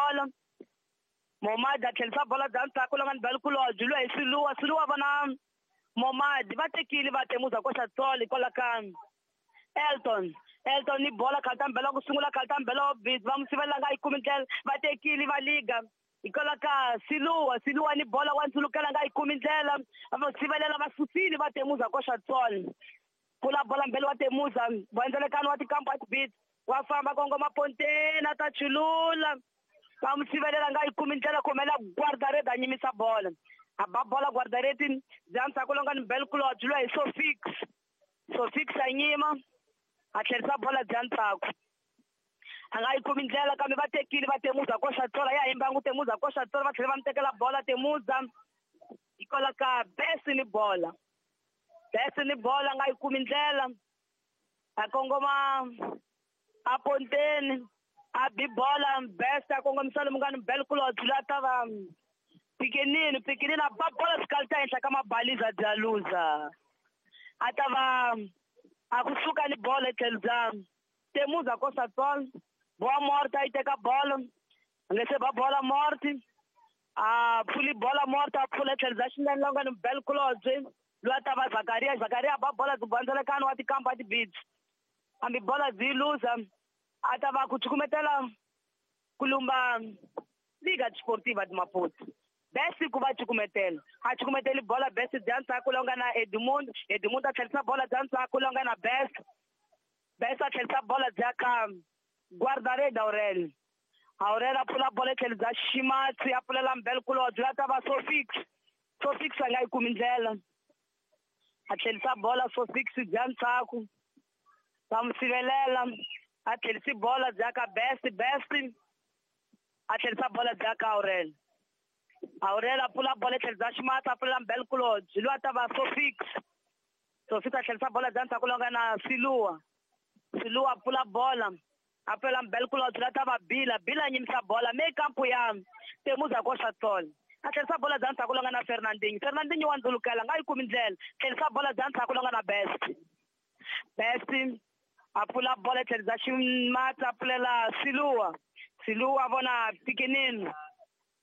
bola. Momadi a tlherisa bola bya ndzhaku lowu nga ni Belkulobye loyi hi Siluwa. Siluwa vona Momadi va tekile va Temuza koxa tsolo hikwalaho ka Elton. Elton ni bola khalta mbela ku sungula khalta mbela busy va n'wi sivelela nga yi kumi ndlela va tekile va liga hikwalaho ka Siluwa. Siluwa ni bola wa ndzulukela nga yi kumi ndlela va sivelela va susile va Temuza koxa tsolo. Pfula bola mbele wa Temuza va endzelekano wa tikampa beat wa famba kongoma ponteni a ta chulula va n'wi sivelela nga yi kumi ndlela kumela guardareti a nyimisa bola a ba bola guardareti bya ndzhaku longa ni Belkulobye loyi hi Sofix. Sofix a nyima a tlherisa bola bya ndzhaku a nga yi kumi ndlela kambe va tekile va Temuza koxa tsola ya himbangu Temuza koxa tsola va tlhela va n'wi tekela bola Temuza hikwalaho ka Best ni bola. Best ni bola nga yi kumi ndlela a kongoma a ponteni a bi bola Best a kongomisa lomu nga ni Belkulobye loyi a ta va Pikinini. Pikinini a ba bola swikali ta henhla ka mabaliza bya luza a ta va a kusuka ni bola etlhelo bya Temuza koxa tsolo boa Morte a yi teka bola a nge se ba bola Morte a pfuli bola Morte a pfula etlhelo bya xinene lowu nga ni Belkulobye loyi a ta va Zakaria. Zakaria a ba bola byi bandzelekano wa tikampa tibits hambi bola byi luza a ta va ku cukumetela ku lumba Liga Desportiva de Maputo. Best ku va cukumetela a cukumeteli bola Best bya ndzhaku lowu nga na Edmund. Edmund a tlherisa bola bya ndzhaku lowu nga na Best. Best a tlherisa bola bya ka Guardarede Aurel. Aurel a pfula bola etlhelo bya Ximatsi a pfulela Mbelkulobye loyi a ta va Sofix. Sofix a nga yi kumi ndlela a tlherisa bola Sofix bya ndzhaku va n'wi sivelela a tlherisi bola bya ka Best. Best a tlherisa bola bya ka Aurel. Aurel a pfula bola etlhelo bya Ximatsi a pfulela Mbelkulobye loyi a ta va Sofix. Sofix a tlherisa bola bya ndzhaku lowu nga na Siluwa. Siluwa a pfula bola a pfulela Mbelkulobye loyi a ta va Bila. Bila a nyimisa bola me kampu ya Temuza koxa tsolo a tlherisa bola bya ndzhaku lowu nga na Fernandinho. Fernandinho wa ndzulukela nga yi kumi ndlela tlherisa bola bya ndzhaku lowu nga na Best. Best a pfula bola etlhelo bya Ximatsi a pfulela Siluwa. Siluwa vona Pikinini.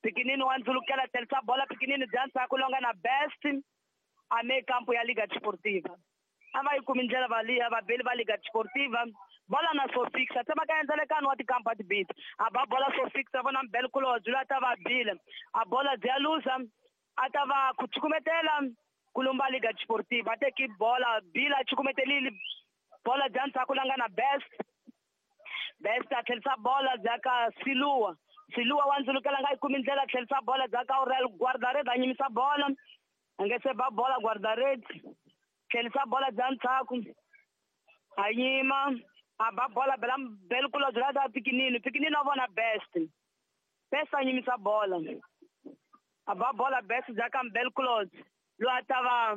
Pikinini wa ndzulukela tlherisa bola Pikinini bya ndzhaku lowu nga na Best a me kampu ya Liga Desportiva. A va yi kumi ndlela va liya vabeli va Liga Desportiva bola na Sofix a tsemaka endzelekano wa tikampa tibit a ba bola Sofix a vona Mbelkulobye loyi a ta va bile a bola bya luza a ta va ku cukumetela ku lumba Liga Desportiva a teki bola Bila a cukumetelile bola bya ndzhaku la nga na Best. Best a tlherisa bola bya ka Siluwa. Siluwa wa ndzulukela nga yi kumi ndlela tlherisa bola bya ka Aurel Guardarede a nyimisa bola a nge se ba bola Guardarede tlherisa bola bya ndzhaku a yima a ba bola bela Belkulobye loyi a ta Pikinini. Pikinini a vona Best. Best a nyimisa bola a ba bola Best bya ka Mbelkulobye loyi a ta va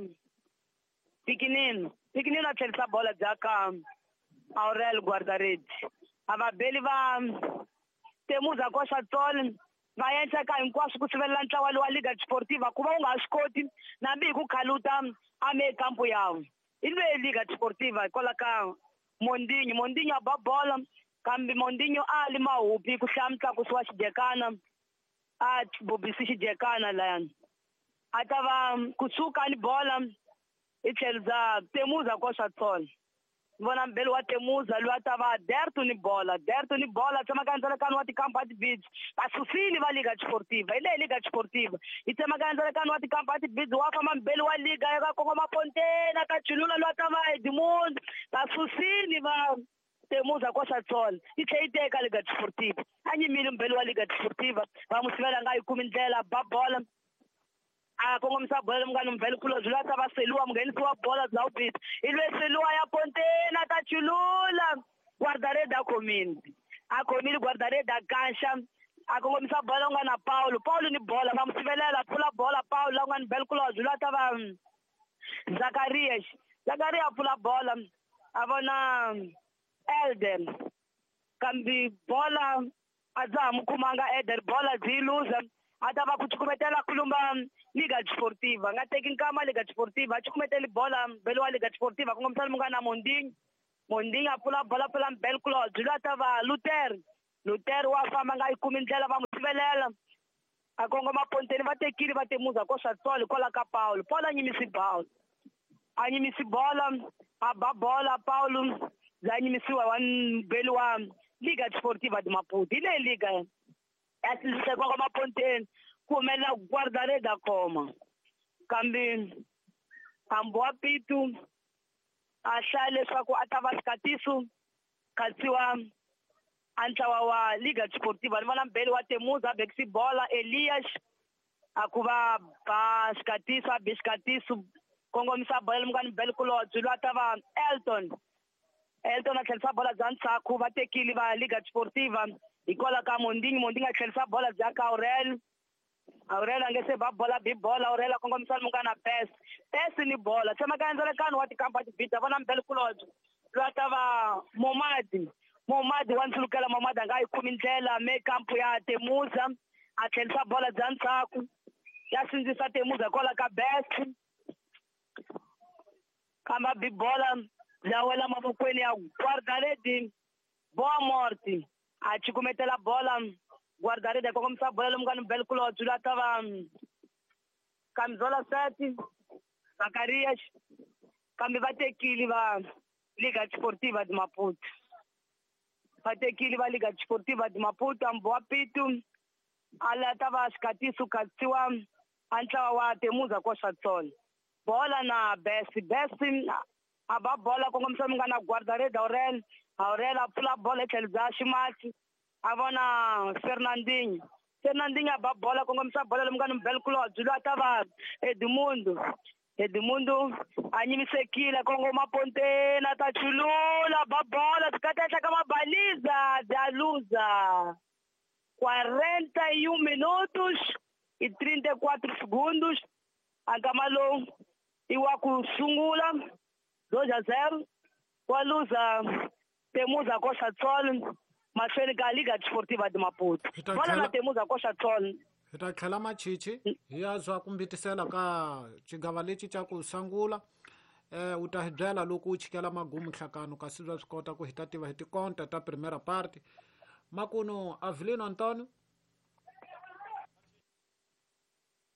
Pikinini. Pikinini a tlherisa bola bya ka Aurel Guardarede a vabeli va Temuza koxa tsolo va endla ka hinkwaswo ku sivelela ntlawa lowa Liga Desportiva ku va u nga swi koti nambi hi ku khaluta a me kampu yawo hi lweyi Liga Desportiva hikwalaho ka Mondinho. Mondinho a ba bola kambe Mondinho a li mahupi ku hlaya mutlakusi wa xijekana a bobisi xijekana layani a ta va kusuka ni bola hi tlhelo bya Temuza koxa tsolo vona mbeli wa Temuza loyi a ta va Derto ni bola. Derto ni bola tsemaka endzelekano wa tikampa tibits va susile va Liga Desportiva hi leyi Liga Desportiva yi tsemaka endzelekano wa tikampa tibits wa famba mbeli wa Liga ya ka kongoma ponteni a ta chulula loyi a ta va Edmund va susile va Temuza koxa tsolo yi tlhela yi teka Liga Desportiva a nyimile mbeli wa Liga Desportiva va n'wi sivela nga yi kumi ndlela ba bola a kongomisa bola lomu nga ni Mbelkulobye loyi a ta va Seluwa munghenisi wa bola bya ubit hi lweyi Seluwa ya ponteni a ta chulula Guardarede a khomile a khomile Guardarede a kanxa a kongomisa bola u nga na Paulo. Paulo ni bola va n'wi sivelela pfula bola Paulo la u nga ni Mbelkulobye loyi a ta va Zakaria. Zakaria a pfula bola a vona Elder kambe bola a dza ha n'wi khumanga Elder bola byi luza a ta va ku cukumetela ku lumba Liga Desportiva nga teki nkama Liga Desportiva a cukumeteli bola mbeli wa Liga Desportiva kongomisa lomu nga na Mondinho. Mondinho a pfula bola pfula Mbelkulobye loyi a ta va Luther. Luther wa famba nga yi kumi ndlela va n'wi Sivelela a kongoma ponteni va tekile va temuza koxa tsolo hikwalaho ka Paulo. Paulo a nyimisi bola, a nyimisi bola, a ba bola Paulo bya nyimisiwa wa mbeli wa Liga Desportiva de Maputo. Hi leyi liga ya sindzisa kongoma ponteni ku humelela guarda-rede a khoma, kambe hambi wa Pitu a hlaya leswaku a ta va xikatiso khatsiwa a ntlawa wa Liga Desportiva. Ni vona mbeli wa Temuza a bekisi bola Elias a ku va ba xikatiso, a bi xikatiso kongomisa bola lemukani mbeli kulobye loyi a ta va Elton. Elton a tlherisa bola bya ndzhaku, va tekile va Liga Desportiva hikwalaho ka Mondingi. Mondingi a tlherisa bola bya ka Aurel. Aurel a nge se ba bola, bi bola Aurel a kongomisa lemukana Pes. Pes ni bola tshama ka endzelekano wa tikampa tibida vona mbeli kulobye loyi a ta va Momadi. Momadi wa ndzulukela, Momadi a nga yi kumi ndlela me kampu ya Temuza a tlherisa bola bya ndzhaku ya sindzisa Temuza hikwalaho ka Best, kambe a bi bola bya wela mavokweni ya guarda-rede Boa Morte. A cukumetela bola guarda-rede a kongomisa bola lemukani mbeli kulobye loyi a ta va Camisola 7 Zacarias, kambe va tekile va Liga Desportiva de Maputo. Va tekile va Liga Desportiva de Maputo. Ambo wa Pitu a lata va xikatiso khatsiwa a ntlawa wa Temuza koxa tsolo bola na Best. Best a ba bola kongomisa munghana guarda-rede Aurel. Aurel a pfula bola hi tlhelo bya ximatsi a vona Fernandinho. Fernandinho a ba bola kongomisa bola lomunghana mbeli kulobye loyi a ta va Edmundo. Edmundo a nyimisekile kongoma ponteni a ta chulula ba bola byi henhla ka mabaliza bya luza. 41 minutos e 34 segundos. A nkama lowu i wa ku sungula 2-0 wa luza Temuza koxa tsolo mahlweni ka Liga Desportiva de Maputo. Bola na Temuza koxa tsolo. Hi ta tlhela machichi hi ya zwa ku mbitisela ka xigava lexi xa ku sungula. U ta hi byela loko u chikela magumu nhlakano kasi bya swi kota ku hi ta tiva hi tikonta ta primera parte. Makuno Avelino Antonio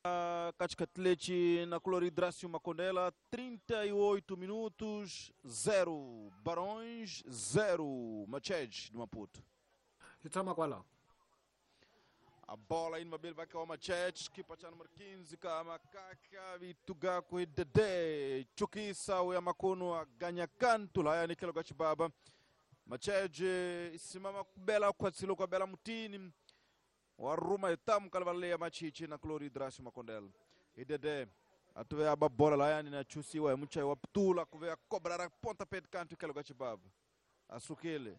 Katikati na Cloridrácio Macondela, 38 minutos, 0 Barões, 0 Machej de Maputo. Hi tshama kwalaho. A bola indo mabele vai cair o Machete, equipa cha número 15, ka Makaka, Vitugaku, Dede, Chukisa, o Yamakuno, a ganha canto lá, Nikelo Gachibaba. Machete, simama kubela kwa tsilo kwa bela mutini. Waruma itamu kalvalea machichi na Cloridrácio Macondela. E Dede, atuve a bola lá, na chusiwa, mucha wa ptula, kuve a cobrar a ponta pé de canto, Nikelo Gachibaba. Asukile.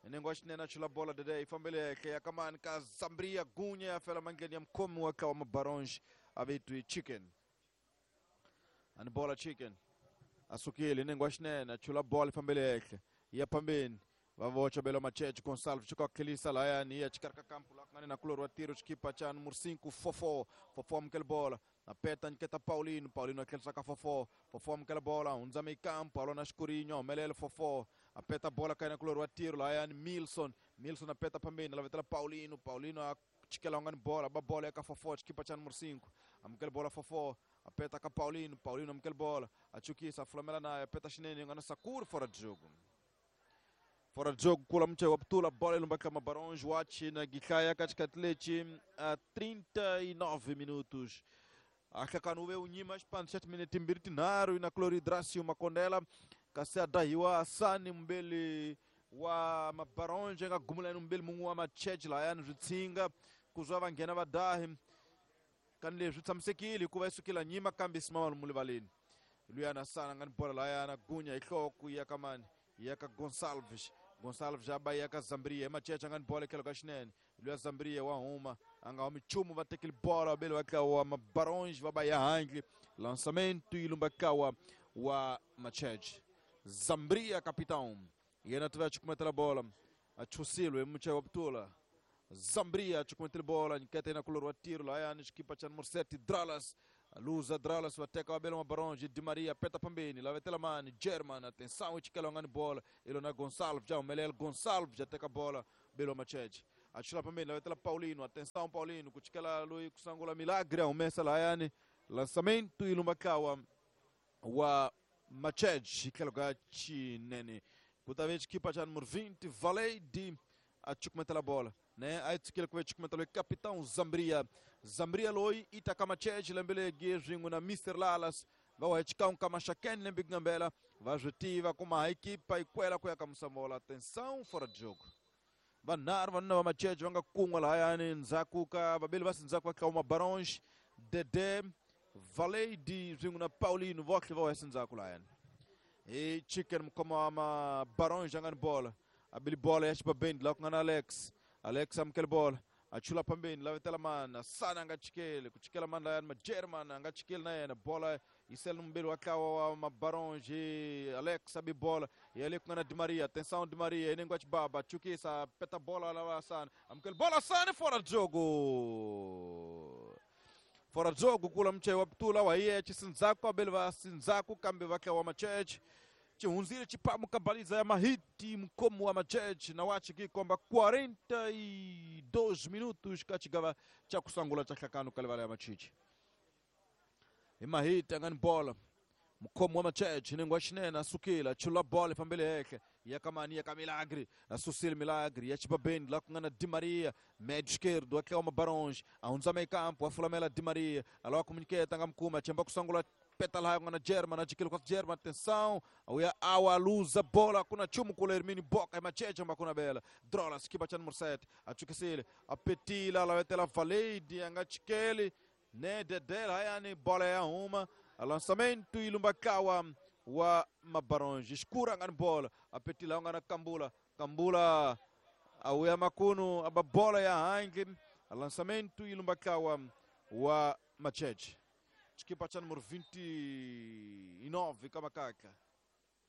Nengoshi nena chula bola Dede ifambele ke yakamani ka Zambria gunya fela mangeni ya mkomu waka wa mabaronge avitu chicken. Ani bola chicken. Asukile nengoshi nena chula bola ifambele ke ya pambeni. Vavocha belo Machete Gonçalves chiko kelisa la yani ya chikarka kampu la ngani na kulor wa tiro chikipa cha número 5 Fofo. Fofo mkel bola. Na peta nketa Paulino, Paulino akelisa ka Fofo. Fofo mkel bola unzame kampu alona Scurinho melele Fofo. Apeta bola kaina kulor wa tiro la yani Milson. Milson apeta pambeni la vetela Paulino, Paulino a chikela ngani bola ba bola ya ka Fofo chikipa cha número 5. Amkel bola Fofo. Apeta ka Paulino, Paulino amkel bola. Achukisa flamela na apeta chinene ngana Sakur fora de jogo. Fora de jogo, kula mche wa ptula, bola ilumba kama Barões, Watch na Gikaya, katikati a 39 minutos. Akakanuwe unyima, 7 minutos mbirtinaru, na Cloridrácio Macondela, kasi adahiwa asani mbele wa mabaronje, nga gumula mbele mungu wa macheji la yani zitsinga, kuzwa vangena vadahi, kanle zitsamsekili, kuva isukila nyima, kambi simama mulivalini. Luyana sana ngani bola la yana, gunya ihloku yakamani. Yaka Gonçalves, Gonçalves já vai yaka Zambria, Machete angani bola aquela gashnene, Luia Zambria wa uma, anga o michumo vai ter aquele bola, belo vai wa Barões vai baia hangli, lançamento e lumbakawa wa Machete. Zambria capitão. E ainda tiver chukumeta a bola, a Chusilo e mucha waptula. Zambria chukumeta bola, nketa na kulor wa tiro lá yani equipa cha número 7 Dralas. Luza Dralas wateka wabelo mabaronge Di Maria peta pambeni la vetela mani German atenção ichikelongani bola Ilona Gonçalves já o Melel Gonçalves já teka bola Belo Machete Achula pambeni lavetela Paulino. Atenção Paulino, kuchikela loyi kusangula Milagre humesa lahayani. Lançamento ilumbakawa wa Machej hitlhelo ka Chinene. Ku ta ve xikipa xa numero 20 Valade a chukumetela bola, ne a yi tshikile ku ve chukumetela capitão Zambria. Zambria loyi i ta ka Machej lembe legi swin'we na Mr Lalas va wa xikan'we ka Maxakeni lembe ku ngambela va swi tiva kuma ha ekipa yi kwela ku ya ka Musambola. Atenção, fora de jogo. Vanharhu vanuna va Machej va nga kun'we lahayani ndzhaku ka vabeli va sindzhaku va tlawuma Barons, Dede, Valade swin'we na Paulino vohle va wa sindzhaku lahayani. Hi Chicken mukoma wa ma Barons a nga ni bola, a bili bola ya xibabeni laha ku nga na Alex. Alex amukele bola, a chula pambeni lavetela mani Asana a nga chikeli ku chikela mani layani Magerman a nga chikeli na yena bola yi sele ni mubeli wa ntlawa wa Mabaronji. Alex abi bola ya le ku nga na Di Maria. Atenção Di Maria inengo ya xibaba chukisa peta bola lava Asana amukele bola Asana fora de jogo. Fora de jogo kula mche wa ptula wa iye chisinzaku abeli va sinzaku kambe va tlawa Machech chihunzile chipamu kabaliza ya mahiti mkomo wa Machech na wachi kikomba 42 minutos kachigava cha kusangula cha hlakano kalevala ya Machichi. Imahiti angani bola mkomo wa Machech nengo xinene asukile chula bola fambele hehle ya kamani ya Milagre asusile Milagre ya chibabeni la ku nga na Di Maria médio esquerdo aqui é uma Barões a meio campo afulamela Di Maria aloa comuniqueta nga mkuma chemba kusangula peta la nga na German achikile kwa German. Atenção auya awa luza bola kuna chumu kula Hermini Boca Macheche makuna bela drola skiba cha número 7 achukisile apetila lawetela Valade anga chikele ne dedela hayani bola ya uma lançamento ilumbakawa wa Mabaronge escura ngani bola apetila ngana Kambula Kambula auya makunu aba bola ya hangi lançamento ilumbakawa wa Macheche chikipa cha número 29 kamakaka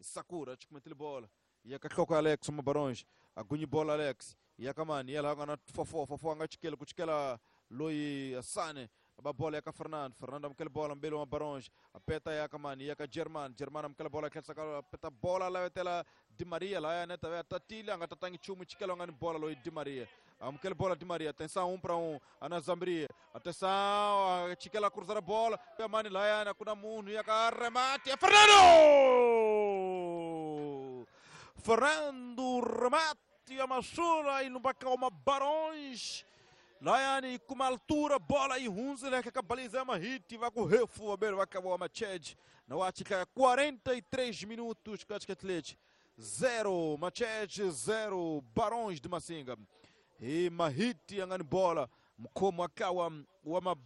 Sakura chikumetile bola yakahloko Alex Mabaronge agunyi bola Alex yakamani yala ngana fofo fofo anga chikele kuchikela loyi Asane aba bola yaka Fernando Fernando amkele bola mbele wa Barões apeta yaka mani yaka German German amkele bola khetsa ka peta bola la wetela Di Maria la ya neta ya tatile anga tatangi chumu chikela ngani bola loyi Di Maria amkele bola Di Maria atenção 1 para 1 ana Zambria atenção chikela cruzar a bola mani la ya na kuna munhu yaka remate ya Fernando Fernando remate ya masula ilumbaka uma Barões Laiane com uma altura, bola e hunzile que cabaliza uma hit, vai com refu, vai acabar uma Machej. Na Ática, 43 minutos, Caticatletes 0, Machej 0, Barões de Massinga. E Mahiti angani bola, mkomo akawa wa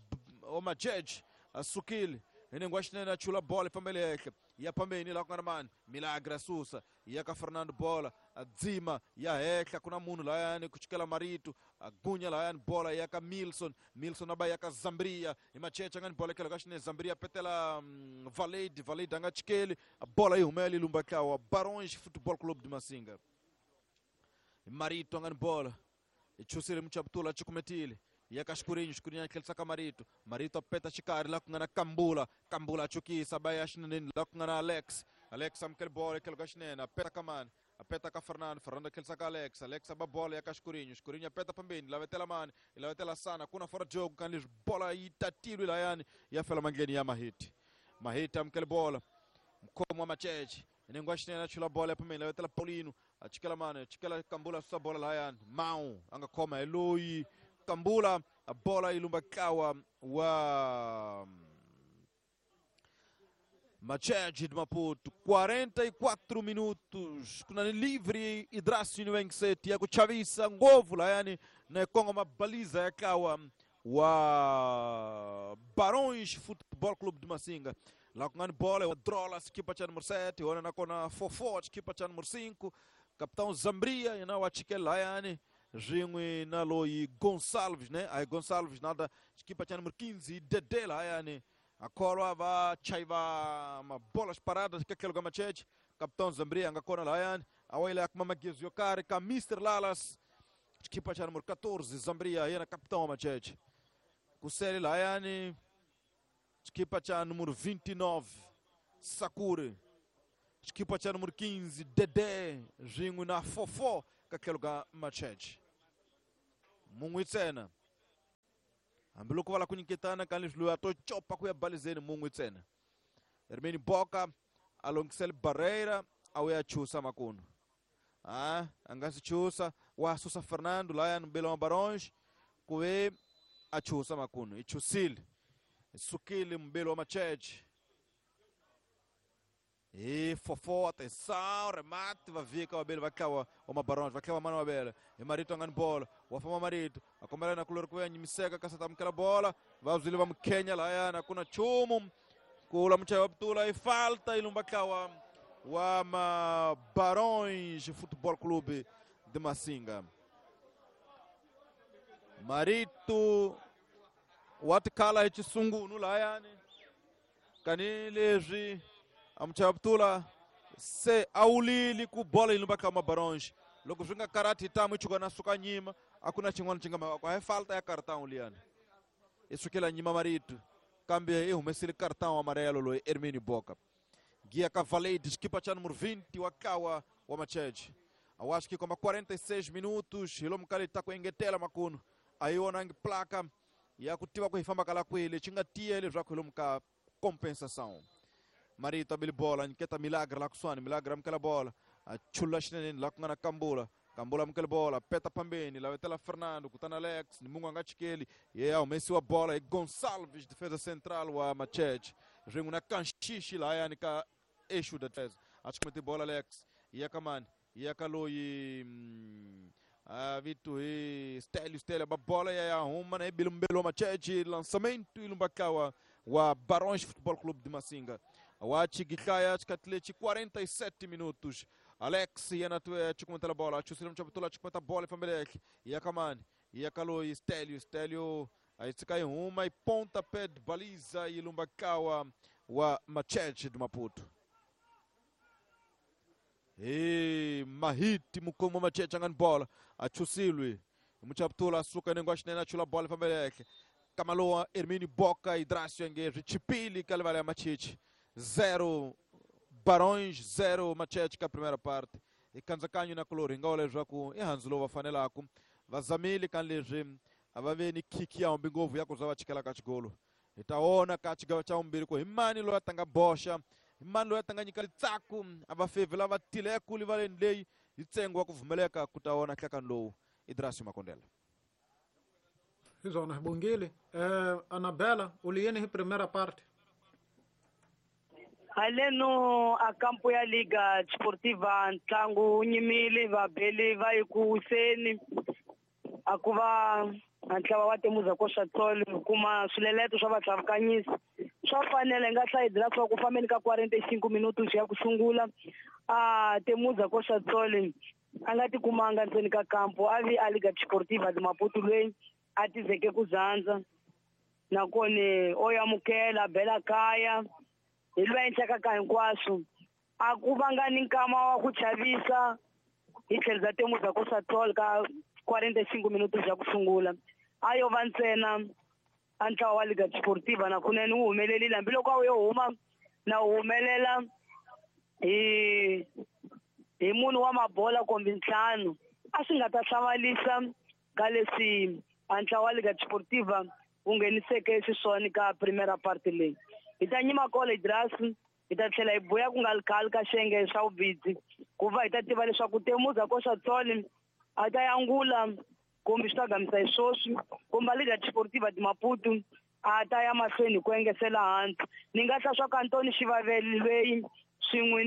Machej, asukile. Inengwashinena chula bola pambele yake. Ya pambeni la kwa man Milagre Susa ya ka Fernando bola adzima ya hekla kuna munu la yani kuchikela Marito agunya la yani bola ya ka Milson Milson aba ya ka Zambria imachecha ngani bola kela kashine Zambria petela Valade Valade anga chikele bola ihumeli lumbakawa Barões Futebol Clube de Massinga. Marito ngani bola ichusile mchaptula chikumetile yaka Escurinho, Escurinho aquele saca Marito, Marito apeta chikari lá com na Kambula, Kambula chukisa baya shinene lá com na Alex, Alex amkel bola aquele gashinene apeta kamani, apeta ka Fernando, Fernando aquele saca Alex, Alex aba bola yaka Escurinho, Escurinho apeta pambeni, lá vetela mani, lá vetela sana, kuna fora jogo kan bola itatiro ila yani ya fela mangeni ya Mahiti. Mahiti amkel bola, mkomo wa Macheche, inengwa shinene chula bola pambeni, lá vetela Paulino, achikela mani, achikela Kambula susa bola la yani, Mau anga koma Eloi Kambula a bola ilumbakawa wa Machej de Maputo. 44 minutos kuna livre Idrassi Niwengse Tiago Chavisa ngovu la yani na Kongo mabaliza yakawa wa Barões Futebol Clube de Massinga. Lá com a bola o Drola equipa cha número 7, ona na kona Fofo equipa cha número 5, capitão Zambria e na wachikela yani Ringue na loi Gonçalves, né? Aí Gonçalves nada, equipa tinha número 15, Dedé lá, yani. A coroa va chaiva uma bolas paradas que aquele Gamachete, capitão Zambria anga kona lá, yani. A oila com Mamagiz Yokari, com Mr. Lalas, equipa tinha número 14, Zambria, aí na capitão Machete. Kuseli lá, yani. Equipa tinha número 29, Sakure. Equipa tinha número 15, Dedé, Ringue na Fofó, com aquele Gamachete. Mun'we ntsena. Hambiloko va lava ku nyiketana ka leswi loyi a to copa ku ya balizeni mun'we ntsena. Hermini Boka a longisela Barreira a wu ya chusa makunu. A nga si chusa wa susa Fernando laya mbele wa Barões ku ve a chusa makunu. I chusile. Sukile mbele wa Macheche. E fofo, atenção, remate, va vika vabele va tlawa wa Mabarões, va tlawa mana wabele. Hi Marito a nga ni bola, wa famba Marito, a kombela na kulori ku ya nyimiseka kasi ta amukela bola, va zwile va mukhenya lahayana ku na nchumu. Kula muchayi wa Putula i falta i lumba tlawa wa Mabarões Futebol Clube de Massinga. Marito wa tikhala hi xisungunu lahayani. Kani leswi amuchaya Putula se a wulile ku bola yi lumba ka Mabarões. Loko swi nga karati tamu yi chuka na suka nyima, a ku na xin'wana xi nga mhaka a hi falta ya cartão liyani. I sukela nyima Marito kambe i humesile cartão amarelo loyi Hermínio Boca. Guia Cavaleiro, xikipa cha número 20 wa tlawa wa Macheche. Eu acho que como 46 minutos, hi lomu ka leti ta ku engetela makunu. A yi vonangi placa ya ku tiva ku hi famba ka la kwihi lexi nga tiya leswaku hi lomu ka compensação. Marito a bile bola, nyiketa Milagre la kusuhani, Milagre amukela bola, a chula xineneni la ku nga na Kambula. Kambula amukela bola, peta pambeni, lavetela Fernando, kutani Alex, ni munhu a nga chikeli, ye a humesiwa bola hi Gonçalves, defesa central wa Macheche. Rin'we na Kanxixi lahayani ka eixo da defesa. A chikumeti bola Alex, ya ka mani, ya ka loyi a vito hi Stelio, Stelio ba bola ya ya huma na ibile mbelo wa Macheche, lançamento i lumba tlawa wa Barões Futebol Clube de Massinga. Wa Chigihlaya xikhathi lexi 47 minutos. Alex yena chikumeta bola, chusile mchaputula chikumeta bola ifambele ehle. Ya kamani, ya kaloyi Stelio, Stelio a yi tshika yi huma yi ponta pé de baliza yi lumba tlawa wa Macheche de Maputo. Hi Mahiti mukhomi wa Macheche a nga ni bola, a chusilwe. Muchaputula a suka nengo wa xinene a chula bola ifambele ehle. Kamalowa Hermínio Boca e Drácio nge swi chipile ka livala ya Macheche. 0 Barões, 0 Macheche ka primeira parte. I kandzakanyo na kulori hi nga vula leswaku i handzu lowu va fanelaka. Va zamile ka leswi a va ve ni khikhi ya humbi ngopfu ya ku za va chikela ka xigolo. Hi ta vona ka xigava xa vumbirhi ku hi mani loyi a ta nga boxa, hi mani loyi a ta nga nyika litsaku a va fevhi lava tileku livaleni leyi hi ntsengo wa ku pfumeleka ku ta vona nhlekani lowu. I Drácio Makondela. Hi swona hi bongile. Anabela, u li yini hi primera parte? Haleno a kampo ya Liga Desportiva ntlangu wu nyimile vabeli va yi ku wiseni. A ku va a ntlawa wa Temuza Koxa Tsolo kuma swileleto swa vatlhavukanyisi. Swa fanela hi nga hlayidela swa ku fambeni ka 45 minutos ya ku sungula. A Temuza Koxa Tsolo a nga tikumanga ndzeni ka kampo, a vi a Liga Desportiva de Maputo loyi a tizeke ku zandza. Nakona o amukela a bela kaya hi lwa endlaka ka hinkwaswo. A ku vanga ni nkama wa ku chavisa hi tlhelo bya Temuza Koxa Tsolo ka 45 minutos ya ku sungula. A yo va ntsena a ntlawa wa Liga Desportiva na kunene wu humelerile, hambiloko a wu yo huma na wu humelela hi munhu wa mabola kumbe ntlhanu. A swi nga ta hlamarisa ka leswi a ntlawa wa Liga Desportiva wu ngheniseke xiswona ka primera parte leyi. Hi ta nyima kona Idras, hi ta tlhela hi buya ku nga ri khale ka xiyenge xa vubidzi ku va hi ta tiva leswaku Temuza Koxa Tsolo a ta yangula kumbe swi ta gamisa hi swoswi kumbe Liga Desportiva de Maputo a ta ya mahlweni ku engesela hansi. Ni nga hla swa ka Antoni Xivaveli loyi swin'we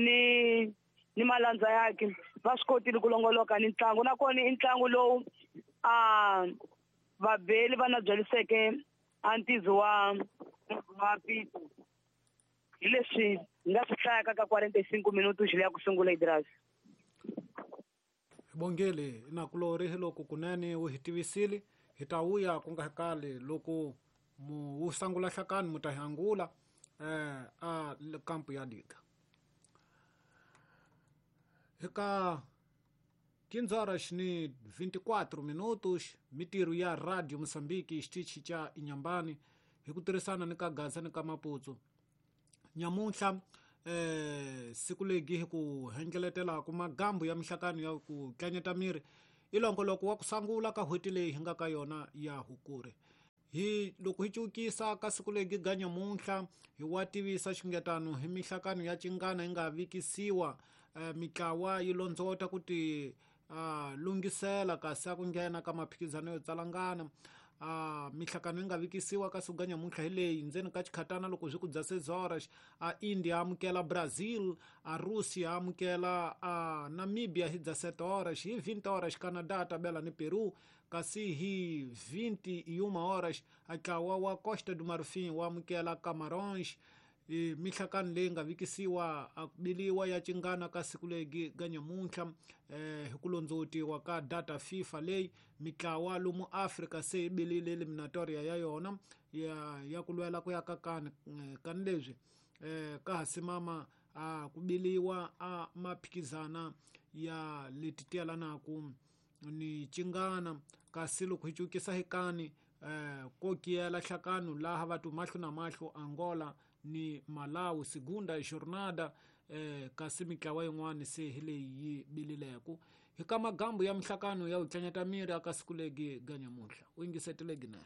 ni malandza yakhe va swi kotile ku longoloka ni ntlangu. Nakona i ntlangu lowu a vabeli va na byeliseke a ntizo wa Pito. Hi leswi hi nga swi hlayaka ka 45 minutos leya ku sungula Idras. Bongele na kulori hi loko kunene wu hi tivisile hi ta vuya ku nga kali loko mu wu sangula hlakani mu ta hangula a kampu ya Liga. Eka 15 horas ni 24 minutos mitirho ya Radio Mozambique xitichi xa Inhambane hi ku tirhisana ni ka Gaza ni ka Maputo. Nyamuntlha siku legi hi ku hengeletela ku magambu ya mihlakano ya ku tlanyeta miri I longoloko wa ku sangula ka n'hweti leyi hi nga ka yona ya Hukuri. Hi loko hi cukisa ka siku legi ga nyamuntlha hi wa tivisa xingetano hi mihlakano ya cingana yi nga vikisiwa mitlawa yi londzota ku ti lunghisela kasi a ku nghena ka maphikizano yo tsalangana. Mihlakano yi nga vikisiwa ka siku ga nyamuntlha hi leyi ndzeni ka xikhatana loko swi ku bya 6 horas a India amukela Brazil, a Russia amukela a Namibia hi bya 7 horas. Hi 20 horas Canada tabela ni Peru, kasi hi 21 horas a ntlawa wa Costa do Marfim wa amukela Camarões. Mihlakano leyi nga vikisiwa a biliwa ya cingana ka siku legi ga nyamuntlha hi ku londzotiwa ka data FIFA leyi mitlawa lomu Afrika se yi bilile eliminatoria ya yona ya ku lwela ku ya ka kani kani leswi ka ha simama a ku biliwa a maphikizana ya leti tiyelanaku ni cingana. Kasi loko hi cukisa hi kani ko kiyela hlakano laha vatu mahlo na mahlo Angola ni Malawi segunda jornada, kasi mitlawa yin'wana se hi leyi yi bilileku hi ka magambu ya mihlakano ya u tlanyata miri aka siku legi ga nyamuntlha. U yingisetile ginene.